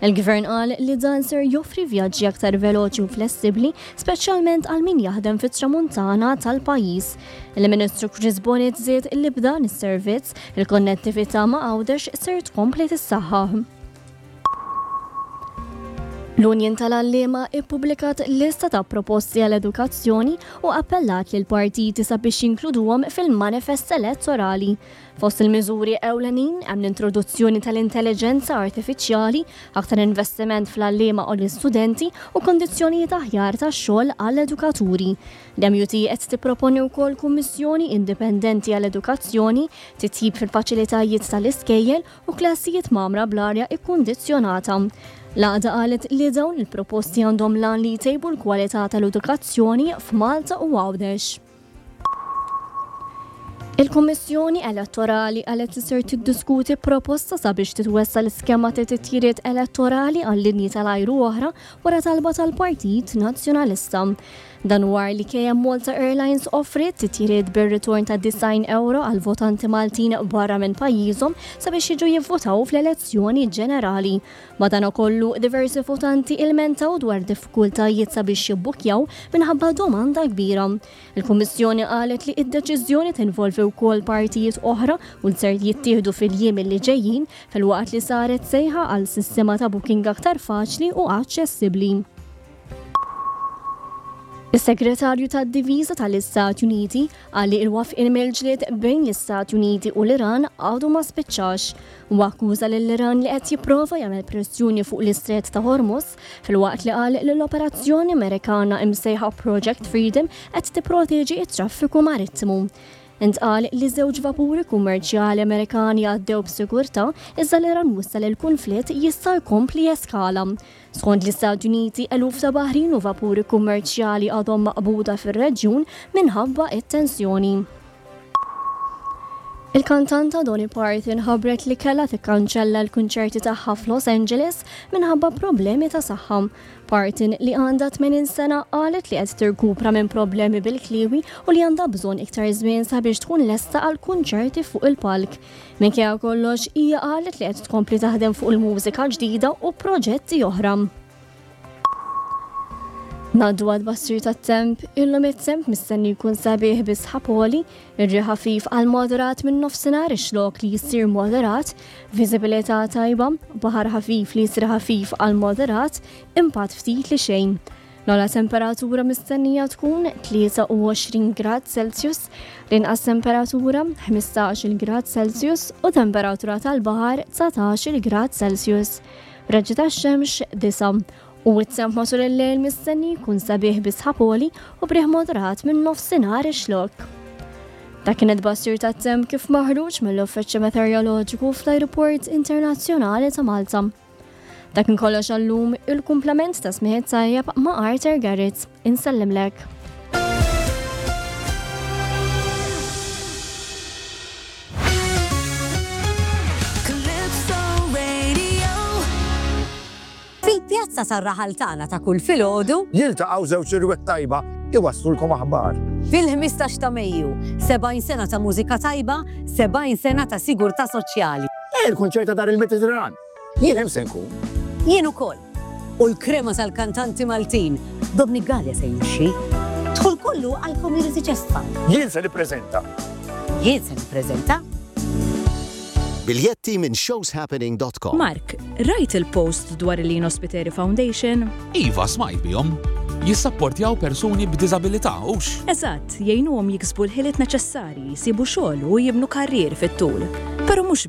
Il-Gvern qal li dan ser joffri vjaġġi aktar veloċi u flessibbli, speċjalment għal min jaħdem fit-Tramuntana tal-pajjiż. Il-Ministru Chris Bonett żied li b'dan is-servizz, il-konnettività ma' Għawdex ser tkompli tissaħħaħ. L-Union tal-Għalliema ippubblikat lista ta' proposti għall-edukazzjoni u appellat lill-partiti sabiex jinkluduhom fil-manifest elettorali. Fost il-miżuri ewlenin hemm l-introduzzjoni tal-intelliġenza artifiċjali, aktar investiment fl-għalliema u l-istudenti u kundizzjonijiet aħjar tax-xogħol għall-edukaturi. L-MUT qed tipproponi wkoll kummissjoni indipendenti għall-edukazzjoni, titjib fil-faċilitajiet tal-iskejjel u klassijiet mgħammra bl-arja kkundizzjonata. L-għaqda qalet li dawn il-proposti għandhom l-għan li jtejbu l-kwalità tal-edukazzjoni f'Malta u Għawdex. Il-Kummissjoni Elettorali qalet li ser tiddiskuti proposta sabiex titwessa' l-iskema ta' titjiriet elettorali għal linji tal-ajru oħra wara talba tal-Partit Nazzjonalista. Dan wara li KM Malta Airlines offriet titjiriet bir-ritorn ta' 90 ewro għal votanti Maltin barra minn pajjiżhom sabiex jiġu jivvotaw fl-elezzjoni ġenerali. Madankollu, diversi votanti ilmentaw dwar diffikultajiet sabiex jibbukkjaw minħabba domanda kbira. Il-Kummissjoni qalet li d-deċiżjoni tinvolvi wkoll partijiet oħra u li ser jittieħdu fil-jiem li ġejjin filwaqt li saret sejħa għal sistema ta' booking aktar faċli u aċċessibbli. Is-Segretarju tad-Difiża tal-Istati Uniti qal li l-waqfien mill-ġlied bejn l-Istati Uniti u l-Iran għadu ma spiċċax. Huwa akkuża lill-Iran li qed jipprova jagħmel pressjoni fuq l-Istret ta' Hormuz filwaqt li qal li l-operazzjoni Amerikana imsejħa Project Freedom qed tipproteġi t-traffiku marittimu. Intqal li żewġ vapuri kummerċjali Amerikani għaddew b'sigurtà iżda l-Iran wissa li l-kunflitt jista' jkompli jeskala. Skont l-Istati Uniti, eluf ta' baħrin u vapuri kummerċjali għadhom maqbuda fir-reġjun minħabba t-tensjoni. Il-kantanta Dolly Parton ħabbret li kellha tikkanċella l-kunċerti tagħha f'Los Angeles minħabba problemi ta' saħħa. Parton, li għandha 80 sena, qalet li qed tirkupra minn problemi bil-kliewi u li għandha bżonn iktar żmien sabiex tkun lesta għal kunċerti fuq il-palk. Minkejja kollox, hija qalet li qed tkompli taħdem fuq il-mużika ġdida u proġetti oħra. Ngħaddu għat-tbassir tat-temp, illum it-temp mistenni jkun sabiħ bi sħab għoli, ir-riħ ħafif għal moderat minn nofsinhar ix-xlokk li jsir moderat, viżibilità tajba, baħar ħafif li jsir ħafif għal moderat, impatt ftit li xejn. L-ogħla temperatura mistennija tkun 23 grad Celsius, l-inqas temperatura 15-il grad Celsius u temperatura tal-baħar 19-il grad Celsius. Raġġi tax-xemx 9 u t-temp matul il-lejl mistenni jkun sabiħ bi sħab għoli u b'riħ moderat minn nofsinhar ix-Xlokk. Dak kien it-tbassir tat-temp kif maħruġ mill-Uffiċċju Meteoroloġiku fl-Ajruport Internazzjonali ta' Malta. Dak kien kollox għal-lum, il-kumplament ta' smigħ tajjeb ma' Arthur Garrett. Insellimlek. Calypso Radio. Fil-pjazza tar-raħal tagħna ta' kull filgħodu. Jiltaqgħu żewġ irwieħ tajba iwasslulkom aħbar. Fil-15 ta' Mejju, 70 sena ta' mużika tajba, 70 sena ta' sigurtà soċjali. Il-kunċert ta' Dar il-Mediterran. Jien hemm se nkun. Jien ukoll. U l-krema tal-kantanti Maltin, Dominic Galea se jimxi. Dħul kollu għall-Community Chest Fund. Jien se nippreżenta. Jien se nippreżenta. Biljetti minn showshappening.com. Mark, rajt il-post dwar il-Lino Spiteri Foundation? Iva, smajt bihom. Jissapportjaw persuni b'diżabilità, hux? Eżatt, jgħinuhom jiksbu l-ħiliet neċessarji, jsibu xogħol u jibnu karrier fit-tul. Però mhux.